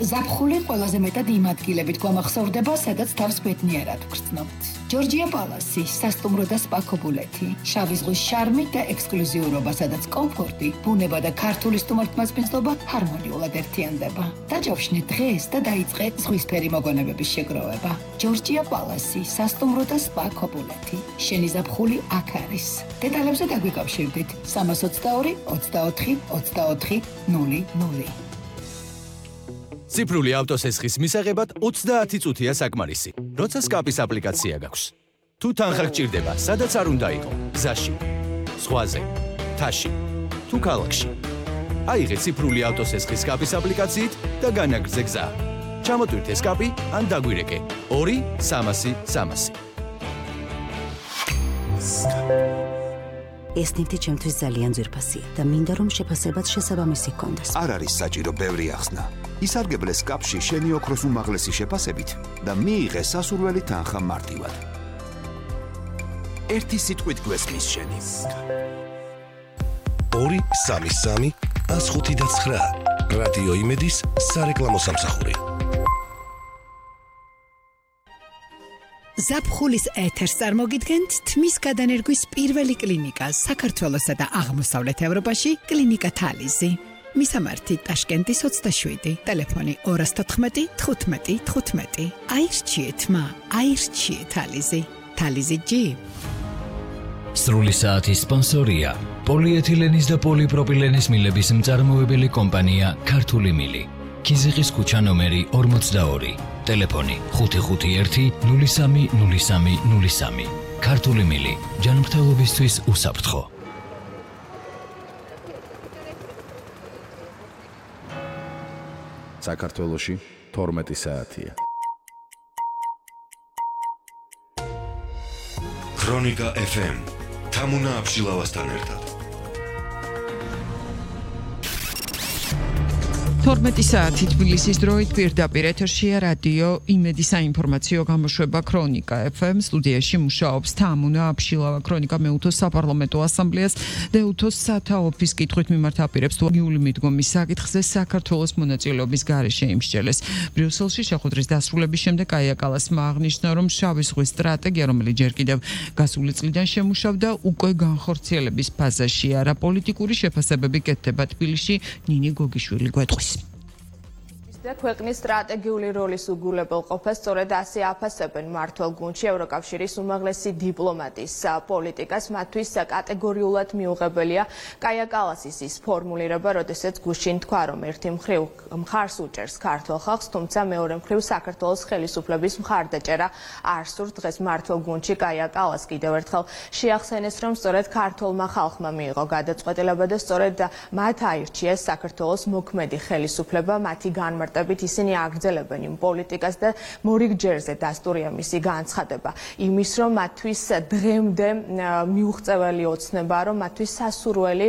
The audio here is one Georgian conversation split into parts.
ზაფხული ყველაზე მეტად იმ ადგილებით გვამახსოვრდება, სადაც თავს ბედნიერად ვგრძნობთ. ჯორჯია პალასი, სასტუმრო და სპა ქობულეთი, შავი ზღვის შარმი და ექსკლუზიურობა, სადაც კომფორტი, ბუნება და ქართული სტუმართმასპინძლობა ჰარმონიულად ერთიანდება. დაჯავშნე დღეს და დაიწყე ზღვისფერი მოგონებების შეგროვება. ჯორჯია პალასი, სასტუმრო და სპა ქობულეთი. შენი ზაფხული აქ არის. დეტალებზე დაგვიკავშირდით 322 24 24 00. ციფრული ავტოსესხის მისაღებად 30 წუთია საკმარისი, როცა სკაპის აპლიკაცია გაქვს. თუ თანხა გჭირდება, სადაც არ უნდა იყო, გზაში, ზღვაზე, მთაში, თუ ქალაქში. აიღე ციფრული ავტოსესხის სკაპის აპლიკაციით და განაგრძე გზა. ჩამოტვირთე სკაპი ან დაგვირეკე 2-300-300. ეს ნივთი ჩემთვის ძალიან ძვირფასია და მინდა რომ შეფასებაც შესაბამისი ჰქონდეს. არ არის საჭირო ბევრი ახსნა. ისარგებლე სკაპში შენი ოქროს უმაღლესი შეფასებით და მიიღე სასურველი თანხა მარტივად. ერთი სიტყვით გვესმის შენი. 2-3-3-105-9 რადიო იმედის სარეკლამო სამსახური. ზაფხულის ეთერს წარმოგიდგენთ თმის გადანერგვის პირველი კლინიკა საქართველოსა და აღმოსავლეთ ევროპაში კლინიკა თალიზი. მისამართი ტაშკენტის 27, ტელეფონი 214 15 15. აირჩიეთ მა, აირჩიეთ თალიზი. თალიზი ჯი. სრული საათის სპონსორია პოლიეთილენის და პოლიპროპილენის მილების მწარმოებელი კომპანია ქართული მილი. ქიზიყის ქუჩა ნომერი 42, ტელეფონი 551 03 03 03. ქართული მილი, ჯანმრთელობისთვის უსაფრთხო. საქართველოში 12 საათია. ქრონიკა FM თამუნა აბშილავასთან ერთად. 12 საათი თბილისის დროით პირდაპირ ეთერშია რადიო იმედი საინფორმაციო გამოშვება ქრონიკა FM. სტუდიაში მუშაობს თამუნა აბშილავა. ქრონიკა მეუთოს საპარლამენტო ასამბლეას დეუთოს სათაოფის კითხვით მიმართაპირებს თუ იული მიდგომის საკითხზე საქართველოს მონაწილეობის გარეშე იმსჯელეს. ბრიუსელში შეხვედრის დასრულების შემდეგ კაია კალასმა აღნიშნა, რომ შავი ზღვის სტრატეგია, რომელიც ჯერ კიდევ გასული წლიდან შემუშავდა, უკვე განხორციელების ფაზაშია. რა პოლიტიკური შეფასებები კეთდება თბილისში, ნინი გოგიშვილი გვეტყვის. ქვეყნის სტრატეგიული როლის უგულებელყოფას სწორედ ასე აფასებენ მმართველ გუნდში ევროკავშირის უმაღლესი დიპლომატის პოლიტიკას. მათთვის კატეგორიულად მიუღებელია კაია კალასის ის ფორმულირება, როდესაც გუშინ თქვა, რომ ერთი მხრივ მხარს უჭერს ქართულ ხალხს, თუმცა მეორე მხრივ საქართველოს ხელისუფლების მხარდაჭერა არ სურს. დღეს მმართველ გუნდში კაია კალას კიდევ ერთხელ შეახსენეს, რომ სწორედ ქართულმა ხალხმა მიიღო გადაწყვეტილება და სწორედ მათ აირჩიეს საქართველოს მოქმედი ხელისუფლება. მათი განმარტებით ისინი აგრძელებენ იმ პოლიტიკას და მორიგჯერზე დასტურია მისი განცხადება იმის, რომ მათთვის დღემდე მიუღწეველი ოცნებაა, რომ მათთვის სასურველი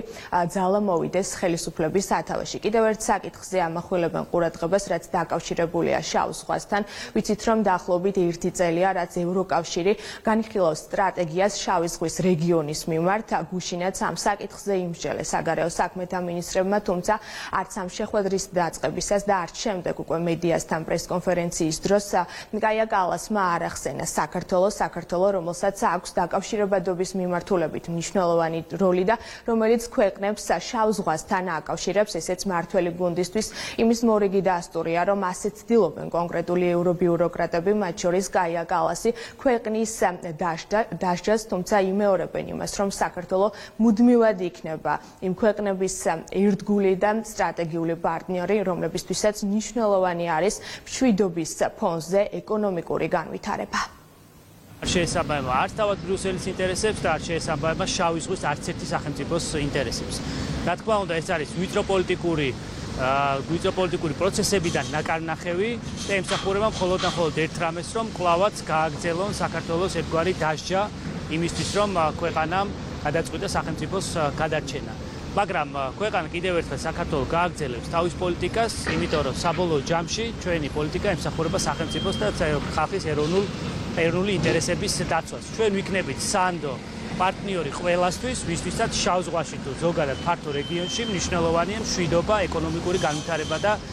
ძალა მოვიდეს ხელისუფლების სათავეში. კიდევ ერთ საკითხზე ამახვილებენ ყურადღებას, რაც დაკავშირებულია შავ ზღვასთან. ვიცით, რომ დაახლოებით 1 წელია, რაც ევროკავშირი განიხილავს სტრატეგიას შავი ზღვის რეგიონის მიმართ. გუშინაც ამ საკითხზე იმსჯელეს საგარეო საქმეთა მინისტრებმა, თუმცა არც ამ შეხვედრის დაწყებისას და არც შემდეგ უკვე მედიასთან პრესკონფერენციის დროს კაია კალასმა არ ახსენა საქართველო, რომელსაც აქვს დაკავშირებადობის მიმართულებით მნიშვნელოვანი როლი და რომელიც ქვეყნებს შავ ზღვასთან აკავშირებს. ესეც მმართველი გუნდისთვის იმის მორიგი დასტურია, რომ ასეც ცდილობენ კონკრეტული ევრობიუროკრატები, მათ შორის კაია კალასი, ქვეყნის დასჯას, თუმცა იმეორებენ იმას, რომ საქართველო მუდმივად იქნება იმ ქვეყნების ერთგული და სტრატეგიული პარტნიორი, რომლებისთვისაც მნიშვნელოვანი არის მშვიდობის ფონზე ეკონომიკური განვითარება. არ შეესაბამება არც თავად ბრიუსელის ინტერესებს და არ შეესაბამება შავი ზღვის არც ერთი სახელმწიფოს ინტერესებს. რა თქმა უნდა, ეს არის ვიწრო პოლიტიკური პროცესებიდან ნაკარნახევი და ემსახურება მხოლოდ და მხოლოდ ერთ რამეს, რომ კვლავაც გააგრძელონ საქართველოს ერთგვარი დასჯა იმისთვის, რომ ქვეყანამ გადაწყვიტა სახელმწიფოს გადარჩენა. მაგრამ ქვეყანა კიდევ ერთხელ საქართველოს გააგრძელებს თავის პოლიტიკას, იმიტომ რომ საბოლოო ჯამში ჩვენი პოლიტიკა ემსახურება სახელმწიფოს და ხალხის ეროვნული ინტერესების დაცვას. ჩვენ ვიქნებით სანდო პარტნიორი ყველასთვის, ვისთვისაც შავ ზღვაში თუ ზოგადად ფართო რეგიონში მნიშვნელოვანია მშვიდობა, ეკონომიკური განვითარება და